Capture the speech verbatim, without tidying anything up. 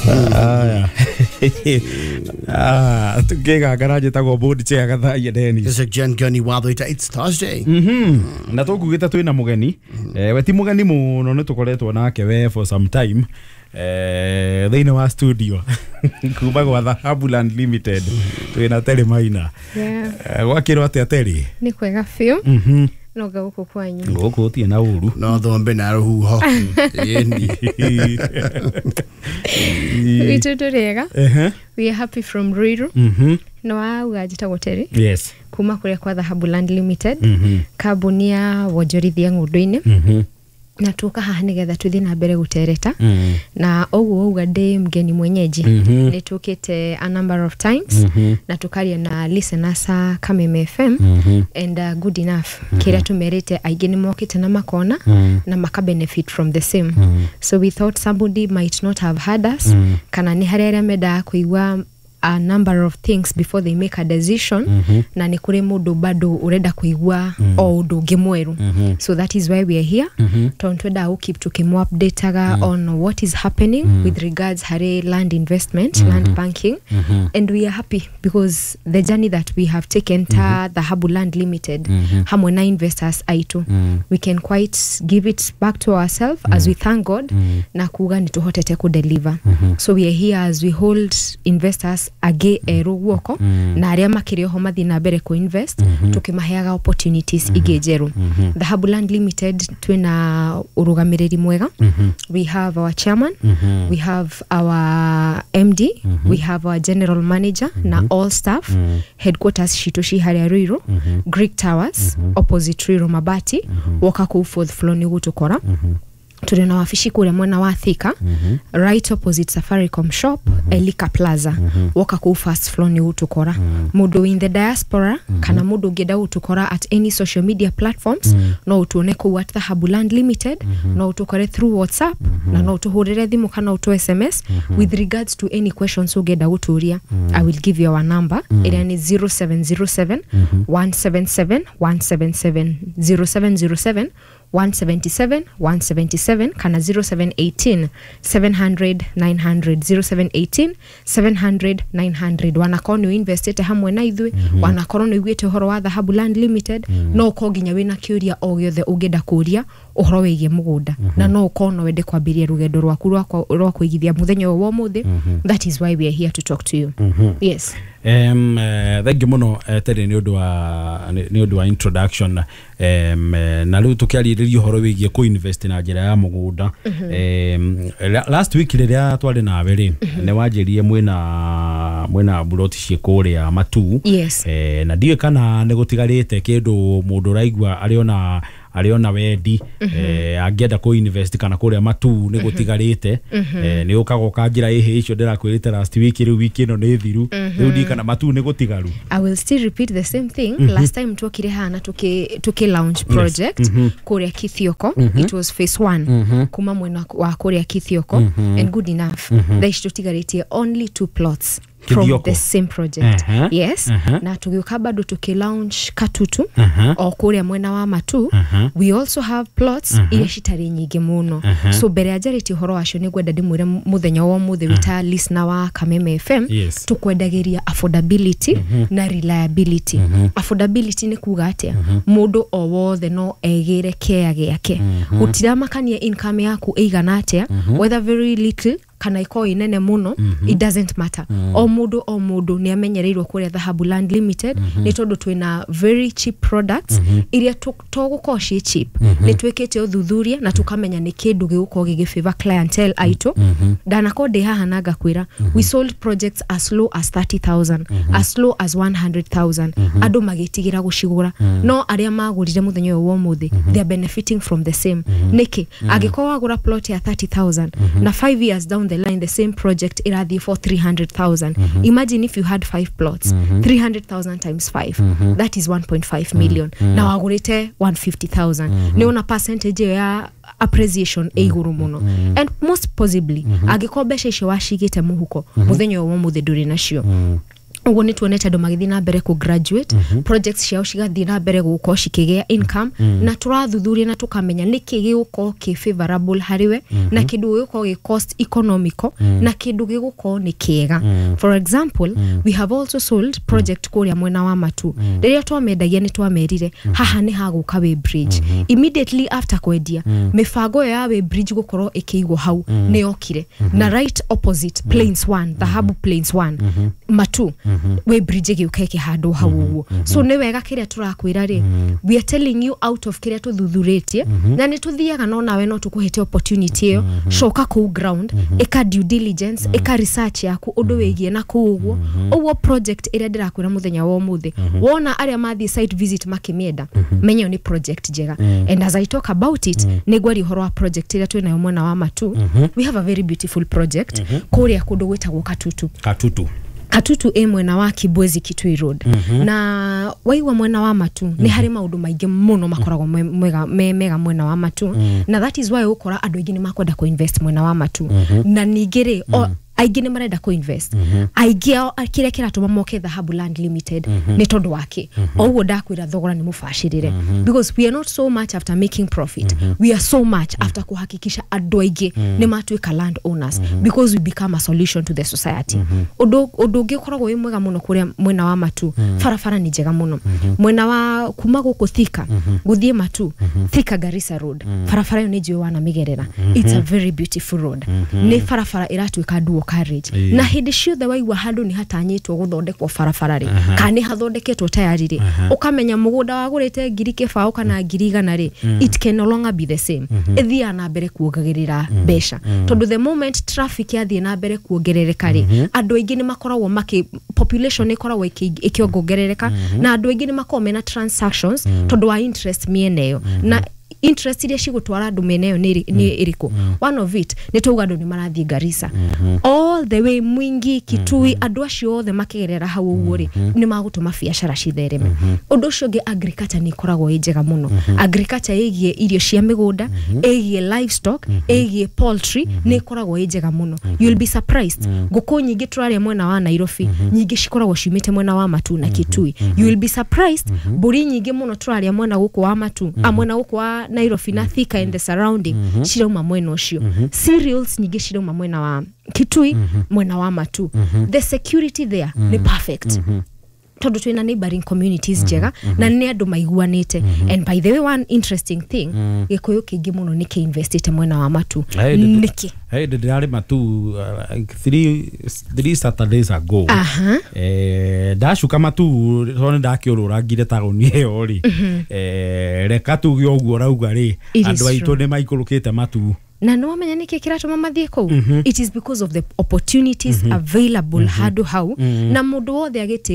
Aya. Ah, tukigangara njĩtagwo board chair Gathaia Dennis. This is Jen Gunny Watho. It's Thursday. Mhm. Na tũkugĩte twĩna mũgeni. Eh, we ti mũgeni mũno, nĩ tũkoretwo nake we for some time. Eh, thĩinĩ wa studio kuma gwa Dhahabu Land Limited twĩna Terry Maina. Yeah. Eh, gwakĩrwo atĩa, Terry? Nĩ kwega biũ. Mhm. Noga gũkũ kwanyu. Gũkũ gũtirĩ na ũru. No thombe na rũhuho. Ĩni. Witũ tũrĩega. Ehe. We are happy from Ruiru. Mhm. No wauga njĩtagwo Terry Yes. kuma kũrĩa kwa Dhahabu Land Limited, Mhm. kambuni ya wonjorithia ng'ũndũ-inĩ, Mhm. na tuka haha nĩgetha tũthiĩ na mbere gũtereta. Mm. Na ũguo wauga, ndĩ mgeni mwenyeji. Mhm. Nĩ tũkĩte a number of times Mhm. na tukaria na listeners a Kameme F M Mhm. and uh, good enough, kĩrĩa tũmerĩte aingĩ nĩ mokĩte na makona Mm. na maka benefit from the same. Mm. So we thought somebody might not have heard us, Mm. kana nĩ harĩ arĩa mendaga kũigua a number of things before they make a decision, Mhm. na nĩ kũrĩ mũndũ bado ũrenda kũigua o ũndũ ũngĩ mwerũ. Mhm. So that is why we are here, Mhm. tondũ twendaga gũ keep tũkĩmũ-updateaga on what is happening with regards harĩ land investment, land banking. And we are happy because the journey that we have taken ta Dhahabu Land Limited hamwe na investors aitũ, we can quite give it back to ourselves as we thank God na kuga nĩ tũhotete kũdeliver. So we are here as we hold investors angĩ erũ guoko na arĩa makĩrĩ oho mathiĩ na mbere kũ-invest, tũkĩmaheaga opportunities ingĩ njerũ. Dhahabu Land Limited twĩna ũrũgamĩrĩri mwega. We have our chairman, we have our M D, we have our general manager na all staff. Headquarters citũ ci harĩa Ruiru, Greek Towers, opposite Ruiru Mabati. Woka kũu fourth floor nĩ ũgũtũkora. Tũrĩ na wabici kũrĩa mwena wa Thika, right opposite Safaricom shop, Elika Plaza. Woka kũu first floor nĩ ũgũtũkora. Mũndũ in the diaspora kana mũndũ ũngĩenda gũtũkora at any social media platforms, no ũtuone kũu at Dhahabu Land Limited. No ũtũkore through WhatsApp na no ũtũhũrĩre thimũ kana ũtũ S M S with regards to any questions ũngĩenda gũtũria. I will give you our number ĩrĩa nĩ zero seven zero seven one seven seven one seven seven, zero seven zero seven one seven seven one seven seven, kana zero seven one eight seven hundred nine hundred, zero seven one eight seven hundred nine hundred. Wanakorwo nĩ ũinvestĩte hamwe na ithuĩ, wanakorwo nĩ ũiguĩte ũhoro wa Dhahabu Land Limited, no ũkorwo nginya wĩna kĩũria o gĩothe ũngĩenda kũria ũhoro wĩgiĩ mũgũnda, na no ũkorwo no wende kwambĩrĩria rũgendo rwaku rwa kwa- rwa kũigithia mũthenya ũyũ wa ũmũthĩ. That is why we are here to talk to you. Yes. um, uh, thank you muno, uh, Terry, nĩ ũndũ wa nĩ nĩ ũndũ wa introduction. um, eh, na rĩu tũkĩarĩrĩria ũhoro wĩgiĩ kũ-invest na njĩra ya mũgũnda. um, la- last week rĩrĩa twarĩ nawe rĩ, nĩ wanjĩrire mwĩna mwĩna buroti ciĩ kũrĩa Matu. Yes. eh, na ndiũĩ kana nĩ gũtigarĩte kĩndũ mũndũ ũraigua arĩona arĩona wendi, eh, angĩenda kũ invest, kana kũrĩa Matu nĩ gũtigarĩte. eh, nĩ ũkaga ũkanjĩra ĩhĩ icio ndĩrakwĩrĩte last week, rĩu wiki ĩno nĩ thiru. Rĩu ndiũĩ kana Matu nĩ gũtigaru. I will still repeat the same thing. Last time twokire haha na tuki, tuki launch project kũrĩa Kithioko. It was phase one kuma mwena wa kũrĩa Kithioko, and good enough, thaa ici tũtigarĩtie only two plots from Kithioko. the same project. Uh-huh. Yes. Uh-huh. Na tũgĩũka bado tuki launch Katutu, Uh-huh. o kũrĩa mwena wa Matu. Uh-huh. We also have plots iria citarĩ nyingĩ mũno. So mbere ya njarĩtie ũhoro wacio, nĩ ngwenda ndĩmwĩre mũthenya wa ũmũthĩ wĩta listener wa Kameme F M, Yes. tukwendagĩria affordability na reliability. Affordability nĩ kuga atĩa? Mũndũ o wothe no egĩre kea gĩake, gũtiramakania income yaku ĩigana atĩa, whether very little kana ikorwo ĩ nene mũno, it doesn't matter. O mũndũ o mũndũ nĩ amenyereirwo kũrĩa Dhahabu Land Limited, nĩ tondũ twĩna very cheap products iria to to gũkorwo ciĩ cheap, nĩ twĩkĩte ũthuthuria na tũkamenya nĩ kĩndũ gĩgũkorwo gĩgĩ clientele aitũ. Ndanakorwo ndĩ haha na ngakwĩra we sold projects as low as thirty thousand, as low as one hundred thousand, andũ magĩtigĩra gũcigũra, no arĩa magũrire mũthenya ũyũ wa ũmũthĩ, they are benefiting from the same. Nĩkĩ? Angĩkorwo wagũra plot ya thirty thousand na five years down the line the same project ĩrathiĩ for three hundred thousand, imagine if you had five plots, three hundred thousand times five, that is one point five million, na wagũrĩte one hundred fifty thousand. Nĩ ona percentage ĩyo ya appreciation ĩ igũrũ mũno. And most possibly, angĩkorwo mbeca icio wacigĩte mũhuko, mũthenya ũyũ wa ũmũthĩ ndũrĩ nacio. Ũguo nĩ tuonete andũ magĩthiĩ na mbere kũ graduate, projects ciao cigathiĩ na mbere gũkorwo cikĩgĩa income, na tũrathuthuria na tũkamenya nĩkĩ gĩgũkorwo kĩ favorable harĩ we, na kĩndũ gĩgũkorwo gĩ cost economical, na kĩndũ gĩgũkorwo nĩ kĩega. For example, we have also sold project kũrĩa mwena wa Matu. Rĩrĩa twamendagia, nĩ twamerire haha nĩ hagũka way bridge. Immediately after kwendia, mĩbango ĩyo ya way bridge gũkorwo ĩkĩigwo hau nĩ yokire, na right opposite Plains One, Dhahabu Plains One Matu, way bridge ĩgĩũka ĩkĩhandwo hau ũguo. So nĩ wega kĩrĩa tũrakwĩra rĩ, we are telling you out of kĩrĩa tũthuthurĩtie, na nĩ tũthiaga, no nawe no tũkũhete opportunity ĩyo. Coka kũu ground, ĩka due diligence, ĩka research yaku ũndũ wĩgiĩ na kũu ũguo. Ũguo project ĩrĩa ndĩrakwĩra mũthenya wa ũmũthĩ, wona arĩa mathiĩ site visit makĩmĩenda, menya ĩyo nĩ project njega. And as I talk about it, nĩ ngwaria ũhoro wa project ĩrĩa twĩnayo mwena wa Matu. We have a very beautiful project kũrĩa kũndũ gwĩtagwo Katutu. Katutu. Katutu ĩ mwena wa Kibwezi Kitui Road. Na waigua mwena wa Matu, nĩ harĩ maũndũ maingĩ mũno makoragwo me mega, me mega mwena wa Matu, na that is why ũkora andũ aingĩ nĩ makwenda kũ-invest mwena wa Matu. Na ningĩ rĩ, o- aingĩ nĩ marenda kũ-invest. Aingĩ ao kĩrĩa kĩratũma moke Dhahabu Land Limited nĩ tondũ wake o ũguo ndakwĩra, thogora nĩ mũbacĩrĩre, because we are not so much after making profit, we are so much after kuhakikisha andũ aingĩ nĩ matuĩka land owners, because we become a solution to the society. Ũndũ ũndũ ũngĩ ũkoragwo wĩ mwega mũno kũrĩa mwena wa Matu, barabara nĩ njega mũno mwena wa kuma gũkũ Thika gũthiĩ Matu, Thika Garissa Road. Barabara ĩyo nĩ njũĩ wanamĩgerera. It's a very beautiful road. Nĩ barabara ĩratuĩka dual carriage, Ĩĩ. na hĩndĩ ciothe waigua handũ nĩ hatanyĩtwo gũthondekwo barabara rĩ, kana nĩ hathondeketwo tayari rĩ, ũkamenya mũgũnda wagũrĩte ngiri kĩbaũ kana ngiri igana rĩ, it can no longer be the same. Ĩthiaga na mbere kuongagĩrĩra mbeca, tondũ the moment traffic yathiĩ na mbere kuongerereka rĩ, andũ aingĩ nĩ makoragwo makĩ population ĩkoragwo ĩkĩ- ĩkĩongongerereka, na andũ aingĩ nĩ makoragwo mena transactions tondũ wa interest mĩena ĩyo. Na interest iria cigũtwara andũ mĩena ĩyo nĩ nĩ ĩrĩkũ? One of it nĩ twauga andũ nĩ marathiĩ Garissa all the way, Mwingi, Kitui. Andũ acio othe makĩgerera hau ũguo rĩ, nĩ magũtũma biacara cithereme. Ũndũ ũcio ũngĩ, agriculture nĩ ĩkoragwo ĩ njega mũno. Agriculture ĩgiĩ irio cia mĩgũnda, ĩgiĩ livestock, ĩgiĩ poultry, nĩ ĩkoragwo ĩ njega mũno. You'll be surprised, ngũkũ nyingĩ tũrarĩa mwena wa Nairobi, nyingĩ cikoragwo ciumĩte mwena wa Matu na Kitui. You will be surprised, mbũri nyingĩ mũno tũrarĩa mwena gũkũ wa Matu, a mwena gũkũ wa Nairobi na Thika and the surrounding, cirauma mwena ũcio. Cereals nyingĩ cirauma mwena wa Kitui, mwena wa Matu. The security there nĩ perfect, tondũ twĩna neighboring communities njega na nĩ andũ maiguanĩte. And by the way, one interesting thing, gĩkũyũ kĩingĩ mũno nĩ kĩinvestĩte mwena wa Matu. Nĩkĩ? Hey, ndĩrarĩ Matu uh, like three, three Saturdays ago. Aha. Eh, ndacuka Matu tondũ nĩ ndakĩũrũrangire taũni ĩyo rĩ, eh, reka tuge ũguo rauga rĩ, It is andũ aitũ true. nĩ maikũrũkĩte Matu. Na nĩ wamenya nĩkĩ kĩratũma mathiĩ kũu? It is because of the opportunities available handũ hau, na mũndũ wothe agĩtĩka